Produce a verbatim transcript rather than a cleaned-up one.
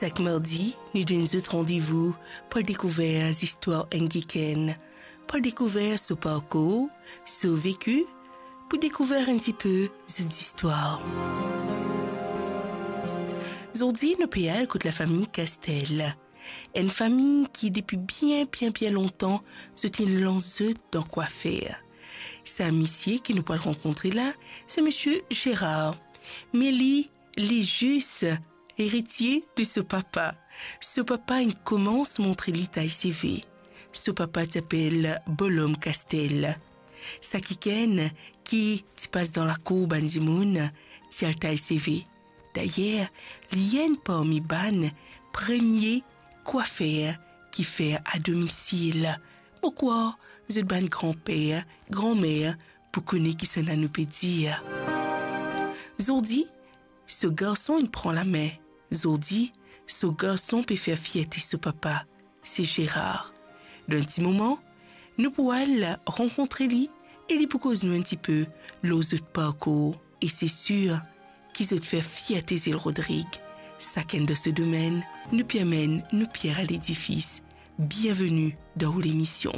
Sak mardi, nou donn zot randevou pou al dekouver zistwar enn kikenn, pou al dekouver so parkour, so veki, pou dekouver enn tipe zot zistwar. Zordi, nou pe al kot lafami Castel. Enn fami ki depi bien, bien, bien lontan, zot inn lans zot dan kwafer. Sa misie ki nou pou al rankontre la, se misie Gérard. Me li, li zis eritie de so papa. So papa inn koumans montre li tay seve. So papa ti apel Bolom Castel. Sa kikenn ki ti pas dan lakour bann dimoun, ti al tay seve. Dayer, li enn parmi bann premie kwafer ki fer adomisil. Mo krwar zot bann granper, granmer pou kone kisannla nou pe dir. Zordi, so garson inn pran lame. Zordi, so garson pe fer fierte so papa, se Gérard. Dan enn ti moman, nou pou al rankontre li e li pou koz nou enn tipe lor zot parkour. E se sir ki zot fer fierte Zil Rodrig. Sakenn dan so domenn, nou pe amenn nou pier a ledifis. Bienveni dan ou lemision.